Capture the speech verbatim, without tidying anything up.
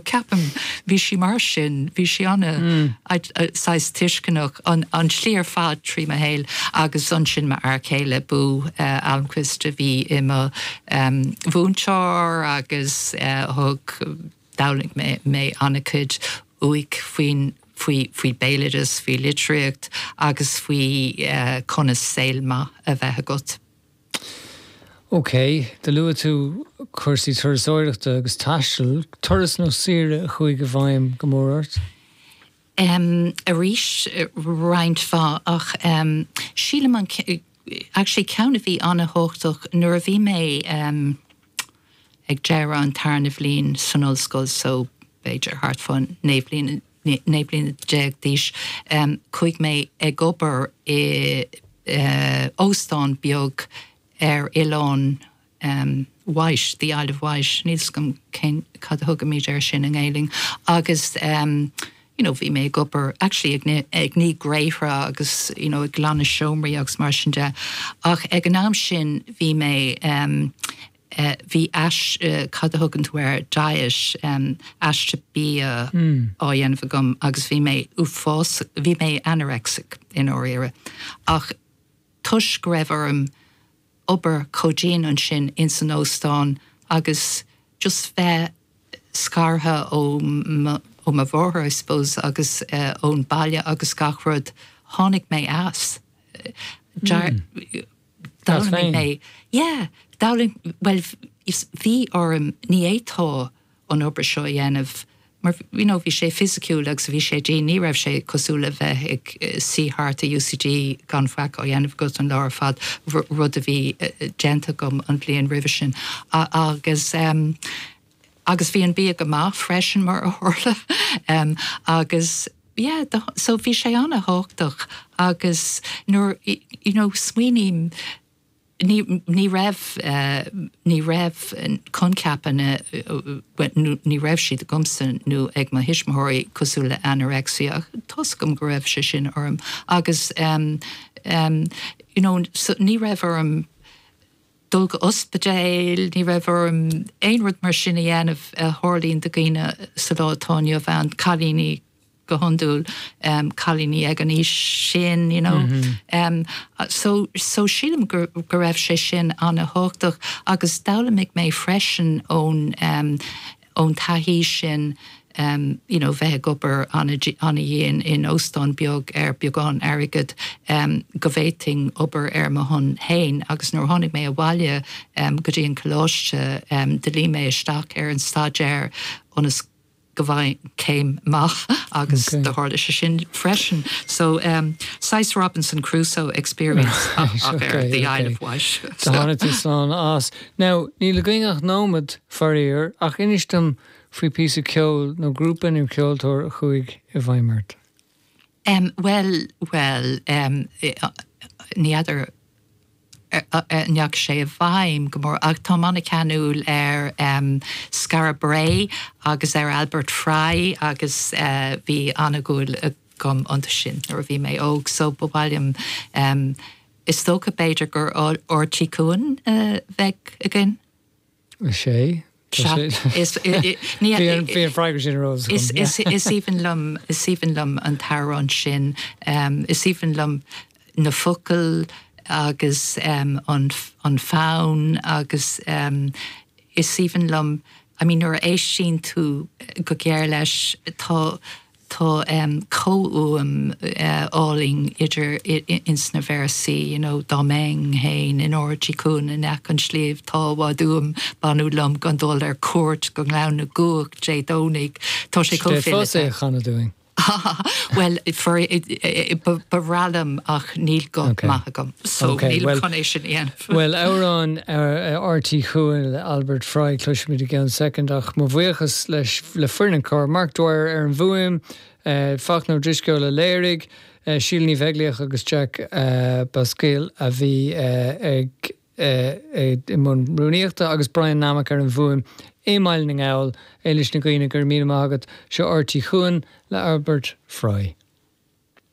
Ceapaim bhí sí mar sin, bhí sí ana mm. saghas tuisceanach an, an slí ar fad trí mo shaol agus ansin m'fhear céile Boo uh, Almquist a bhí i mo um, mhúinteoir agus uh, thug d'fhoghlaim mé mé an-chuid uaidh faoin faoi faoi béaloideas, faoi litríocht agus faoi uh, conas saol maith a bheith agat. Ok, do luaigh tú cúrsaí turasóireachta agus taistil, turas nó saoire a chuaigh i bhfeidhm go mór ort? Um, arís roinnt mhaith ach um, sílim an actually ceann a bhí an-tábhachtach nuair a bhí mé um, ag deireadh an tarna bhliain san ollscoil so b'fhéidir thart fá naoi bliana naoi bliana déag d'aois um, chuaigh mé ag obair i uh, óstán beag ar oileán um, Wight, the Isle of Wight, níl 's agam cén cad a thugaimid air sin i nGaeilge agus um, you know, bhí mé ag obair actually ag, ag ní gréithre agus you know, ag glanadh seomraí agus mar sin de ach ag an am sin bhí mé um, uh, bhí ais uh, cad a thugann tú air diet um, aiste bia mm. á dhéanamh agam agus bhí mé uafás bhí mé anorexic i ndáiríre ach toisc go raibh orm obair chomh dian ansin in san óstán agus just bheith scartha ó ó mo mháthair I suppose agus uh, ón baile agus gach rud tháinig mé as. Mm. mé yeah, well bhí orm ní fhéadfá an obair seo a dhéanamh mar you know, bhí sé fisiciúil agus bhí sé dé ní raibh sé cosúil le bheith ag suí thart i UCD gan faic á dhéanamh go an lá ar fad rud a bhí déanta agam an bhliain roimhe sin agus um, agus bhí an bia go maith freisin mar a tharla um, agus yeah, the, so bhí sé an-tábhachtach agus nuair you know, smaoiním ní ní raibh uh, ní raibh coincheapanna uh, ní raibh siad agamsa nó ag mo thuismitheoirí cosúil le anorexia toisc go raibh sé sin orm agus um, um, you know, so ní raibh orm dul go ospidéal, ní raibh orm aon rud mar sin a dhéanamh a tharlaíonn do dhaoine sa lá atá inniu ann cailíní go hiondúil um, cailíní ag an aois sin you know. Mm -hmm. um, so, so sílim go, go raibh sé sin an-tábhachtach agus d'fhoghlaim mé freisin ón um, ón taithí sin um, you know, bheith ag obair an-dian in óstán beag ar beagán airgid um, go bhféadfainn obair ar mo shon féin agus nuair tháinig mé abhaile um, go dtí an coláiste um, d'fhill mé isteach ar an staidéar ionas go bhfaighinn céim maith agus okay. do tharla sé sin freisin. So um, saghas Robinson Crusoe experience ach okay, ar the okay. Isle of Wight. So tháinig tú slán as. Now níl againn ach nóiméad faraor ach inis dom faoi píosa ceoil nó grúpa nó ceoltóir a chuaigh i bhfeidhm ort. Um, well well um, ní fheadar ndeachaigh sé i bhfeidhm go mór ach tá an-cheanúil ar um, Skara Brae agus ar Albert Fry agus uh, bhí an-dúil agam iontu sin nuair a bhí mé óg so ba mhaith liom um, is dócha b'fhéidir gur Ard Tí Cuan uh, bheadh againn. sé? Bhí an freagra sin rose. Is aoibhinn liom is aoibhinn liom an t-amhrán sin um, is aoibhinn liom na focail agus um, an, an fonn agus um, is aoibhinn liom I mean nuair a éisteann tú go géar leis tá tá um, comhfhuaim uh, álainn idir ins na véarsaí you know, dá mbeinn féin in Ard Tí Cuan in aice an tsléibh tá i bhfad uaim beannú liom gan dul ar cuairt go Gleann na gCuach Dé Domhnaigh tá sé é a chanadh dúinn. Well ba bhreá liom ach níl guth maith agam so níl chun é sin dhéanamh. Well amhrán Ard Tí Cuan le Albert Fry cloisfimid i gceann soicind ach mo bhuíochas leis le foireann an chláir Mark Dwyer ar an bhfuaim, Fachtna Ó Drisceoil a léirigh, Síle Ní Bheaglaoich agus Jack Basquille a bhí ag i mbun rúnaíochta agus Brian Nammock ar an bhfuaim i mBaile na nGall Éilis na Gaoine gur míle maith agat seo Ard Tí Cuan le Albert Fry.